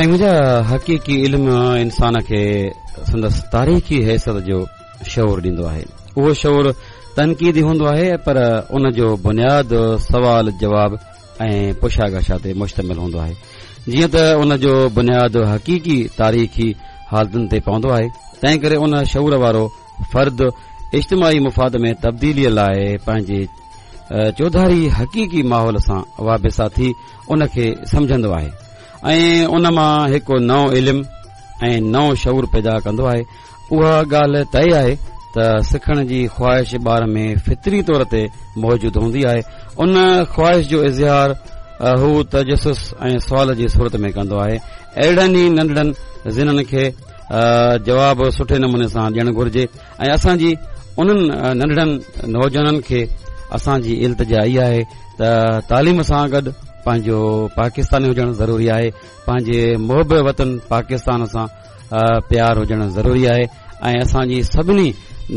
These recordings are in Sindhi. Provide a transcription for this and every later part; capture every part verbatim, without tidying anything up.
سائين منهنجا، حقيقي علم انسان کي سندس تاريخي حيثيت جو شعور ڏيندو آهي. اهو شعور تنقيدي هوندو آهي، پر ان جو بنياد سوال جواب ۽ پڇا ڳاڇا تي مشتمل هوندو آهي. جيئن ته ان جو بنياد حقيقي تاريخي حالتن تي پوندو آهي، تنهن ڪري ان شعور وارو فرد اجتماعي مفاد ۾ تبديليء لاء پنهنجي چوڌاري حقيقي ماحول سان وابسته ٿي ان کي سمجهندو آهي ۽ ان مان هڪ نئون علم ۽ نئون شعور پيدا ڪندو آهي. اها ڳالهه طئي آهي ته سکڻ جي خواهش ٻار ۾ فطري طور تي موجود هوندي آهي. ان خواهش جو اظهار هو تجسس ۽ سوال جي صورت ۾ ڪندو آهي. اهڙن ئي ننڍڙن ذهنن کي جواب سٺي نموني سان ڏيڻ گهرجي ۽ اسان جي انهن ننڍڙن نوجوانن کي اسان جي التجا اها آهي ته تعليم سان گڏ پنهنجو پاڪستاني هجڻ ضروري آهي، پنهنجي محب وطن پاڪستان سان پيار هجڻ ضروري آهي ۽ اسان جي سڀني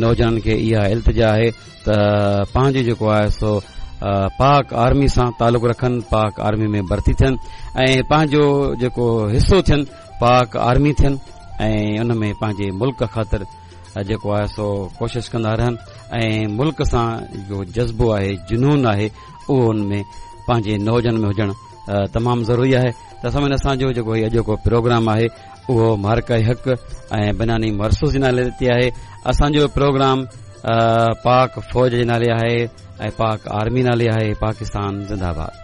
نوجوانن کي اها التجا آهي ته پنهنجي جيڪو آهي سو پاڪ آرمي سان تعلق رکن، پاڪ آرمي ۾ ڀرتي ٿين ۽ پنهنجو جيڪو حصو ٿين، پاڪ آرمي ٿين ۽ ان ۾ پنهنجي ملڪ خاطر جيڪو آهي سو ڪوشش ڪندا رهن ۽ ملڪ سان جو جذبو آهي، جنون آهي، اهو ان ۾ پنهنجي نوجوانن ۾ هجڻ تمام ضروري آهي. ته سامعين، اسان جو جيڪو هي اڄوڪو پروگرام آهي اهو معرڪه حق ۽ بناني مرسوس جي نالي تي آهي. اسان جو پروگرام پاڪ فوج جي نالي آهي ۽ پاڪ آرمي نالي آهي. پاڪستان زنده آباد.